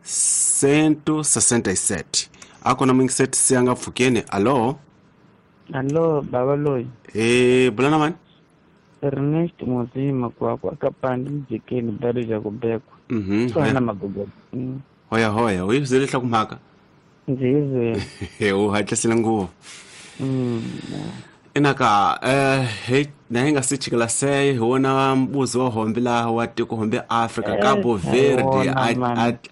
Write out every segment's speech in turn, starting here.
167. Akona mingiseti siyanga pfukeni. Alo. Alo, baba loyi. Bulana mani? Ernest Mozima kwa kapandi mjikeni bado ja kubekwa. Sana magogo. Hoya hoya, u yizele hlakumhaka. Nzize. U hatlisile ngopfu. Inaka he na hinga si chikela se hi wona mbuzi wa hombe laha wa tiko hombe Africa Cabo Verde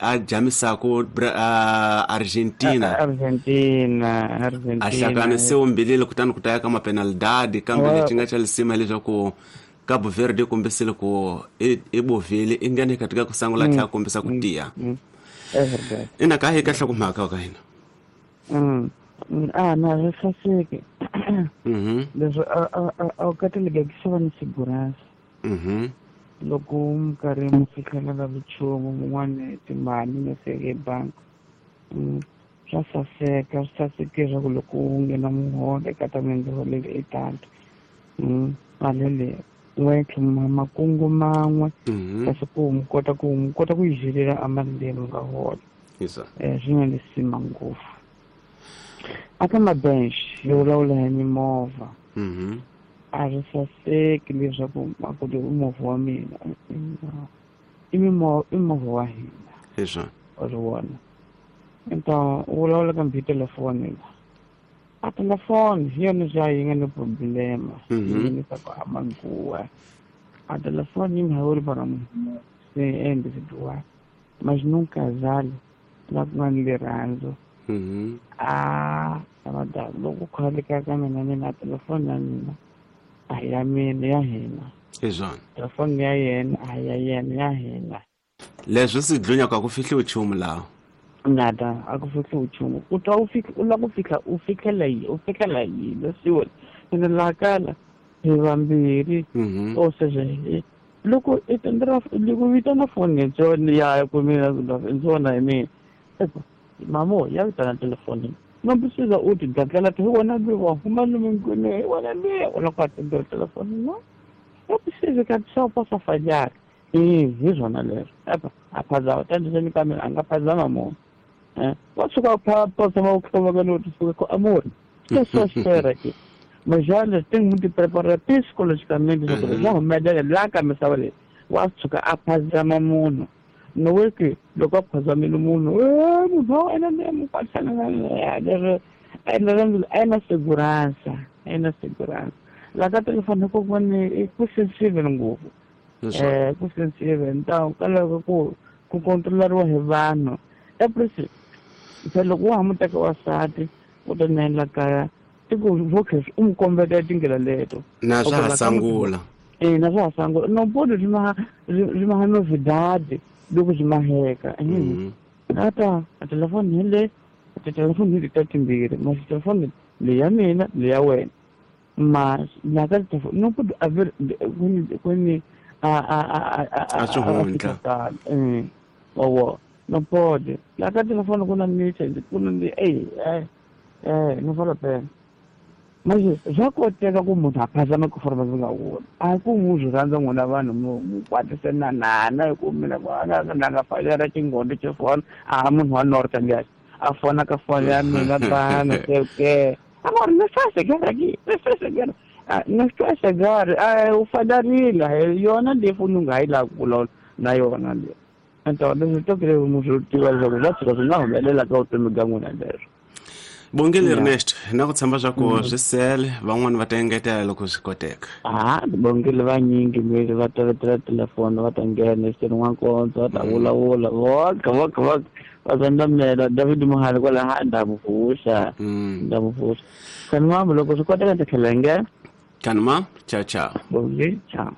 a jamisaku Argentina. Argentina. A hlanganise umbilile kutani ku ta ya ka mapenalidade kambe lexi nga xa lisima leswaku Cabo Verde kombisile ku i bovile i nghene katika ku sangula tlhela kombisa ku tiya. Inaka hi ka hlokomhaka ka hina. Na swi saseke. Leswi a wu kateleka ku xava ni segurança. Loko mi karhi mi fihlelela nchumu mun'wani timali mi fike ebangi swa saseka, swi saseke leswaku loko u nghena muholo eka ta mi ndzi holele i tata mali leyi n'we tlhoma makungu man'we kasi ku mi kota ku yi jelela a mali leyi mi nga hola. Swi nga lisima ngopfu. Aka mabench yo vulavula hi mimovha a swi saseki leswaku makuti i movha wa mina, i movha wa hina. Wa swi vona. Então u vulavula kambe hi telefoni la. A telefoni hi yona xa yi nga ni problema yi nghenisaka a manguwa. A telefoni yi mhawuri para munhu se individual, mas num casal la ku nga ni rirhandzu. A loko khaleka ka mina mina telefoni ya mina a hi ya mina, ya hina. Telefoni ya yena a hi ya yena, ya hina. Leswi swi dlunyaka ku fihliwi nchumu laha. Nada, a ku fihliwi nchumu. U twa u lava ku fihla, u fihlela yini? U fihlela yini? Leswiwa ene laha kala hi vambirhi. O seja, loko i loko vitana foni ya ku mina ndzona hi mina. Mamo, ya vitana telefoni. Não precisa o te daquela te wona be wa huma no me wona me wona ka te telefone não. Não precisa que a pessoa possa falhar. E hi swona leswo. Epa, a phazama tandiseni ka mina a nga phazama munhu. Wa tshuka phazama ku hloma ka no suka ko amor. Que só espera aqui. Mas já tem muito preparar psicologicamente sobre já humelela la ka misava leyi. Wa tshuka a phazama munhu. No é que loko a phazamile munhu, munhu wa wena ni mu kwatisana a na segurança, a na segurança. La ka telefoni ku vone ku sensitive ngopfu. Ku sensitive, então kaloko ku controlariwa hi vanhu. É por isso, loko wa ha mu teka wansati u ta ni endla kaya, i ku vokhe u mu kombeta tindlela leto. Na swa ha sangula. Na swa ha sangula. No pode ri ma novidade loko byi maheka. Ata a telefoni hi le, telefoni hi ta timbirhi, mas telefoni leyi ya mina leyi ya wena. Mas la ka telefoni no pode haver kuni a xihundla. Owo, no pode. La ka telefoni ku na message, ku na no vale a pena. Mas swa koteka ku munhu a phazama ku forma swi nga wona. A ku n'wi swi rhandza n'wina vanhu mu kwatisenanana hi ku mina na nga falela xinghondo xo fona a munhu wa North liya a fona ka foni ya mina tano sei o quê. Agora não está chegar aqui, não está chegar. Não estou a chegar, u fadarile yona leyi foni u nga ha yi lavi ku vulavula na yona leyi. Então leswi to kile mu swi tiva leswaku swa tshuka swi nga humelela ka vutomi bya n'wina leswo. Bongile Ernest, na ku tshemba swa ku swi sele van'wani va ta engetela loko swi koteka. Bongile vanyingi mi va tevetela telefoni va ta nghena xiteni n'wankondzo va ta vulavula voka voka voka va zandamela David Mohale kwala ha nda mu vuxa. Nda mu vuxa. Kanimam loko swi koteka ta tlhela nghena. Kanimam, ciao ciao. Bongile, ciao.